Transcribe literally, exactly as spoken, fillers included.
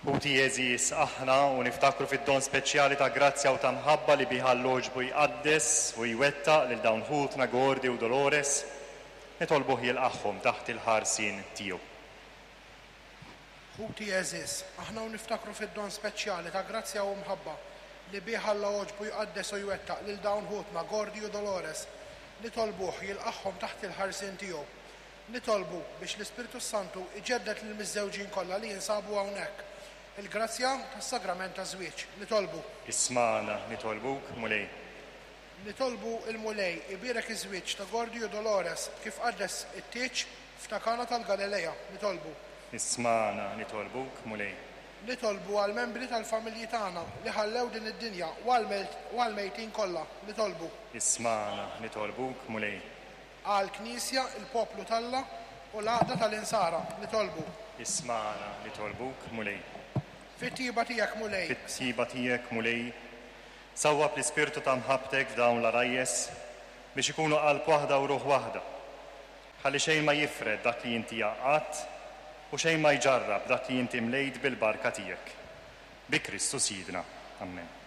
Ħuti għeżież, aħna u niftakru fid-don speċjali ta' grazzja u ta' mħabba li biha Alla għoġbu jqaddes u jwettaq lil dawn ħutna Gordy u Dolores, nitolbuh jilqagħhom taħt il-ħarsien tiegħu. Ħuti għeżież, aħna u niftakru fid-don speċjali ta' grazzja u mħabba li bih Alla għoġbu jqaddes u jwettaq lil dawn ħutna Gordy u Dolores, nitolbuh jilqagħhom taħt il-ħarsien tiegħu. Nitolbu biex l-Ispirtu Santu iġedded lill-miżżewġin kollha li jinsabu hawnhekk il-grazzja tas-sagrament taż-żwieġ. Nitolbu. Ismagħna, nitolbuk, Mulej. Nitolbu il-Mulej ibierek iż-żwieġ ta' Gordy u Dolores kif qaddes it-tieġ f'ta' Kana tal-Galilea. Nitolbu. Ismagħna, nitolbuk, Mulej. Nitolbu għall-membri tal-familji tagħna li ħallew din id-dinja u għall-mejtin kollha. Nitolbu. Ismagħna, nitolbuk, Mulej. Għall-Knisja, il-poplu t'Alla u l-għaqda tal-Insara. Nitolbu. Ismagħna, nitolbuk, Mulej. Fit-tiba tiegħek, Mulej. Fit-tiba tiegħek, Mulej. Sawwab l-ispirtu ta' mħabbtek f'dawn l-għarajjes biex ikunu qalb waħda u ruħ waħda. Ħalli xejn ma jifred dak li inti għaqqadt u xejn ma jġarrab dak li inti mlejt bil-barka tiegħek. Bi Kristu Sidna. Amen.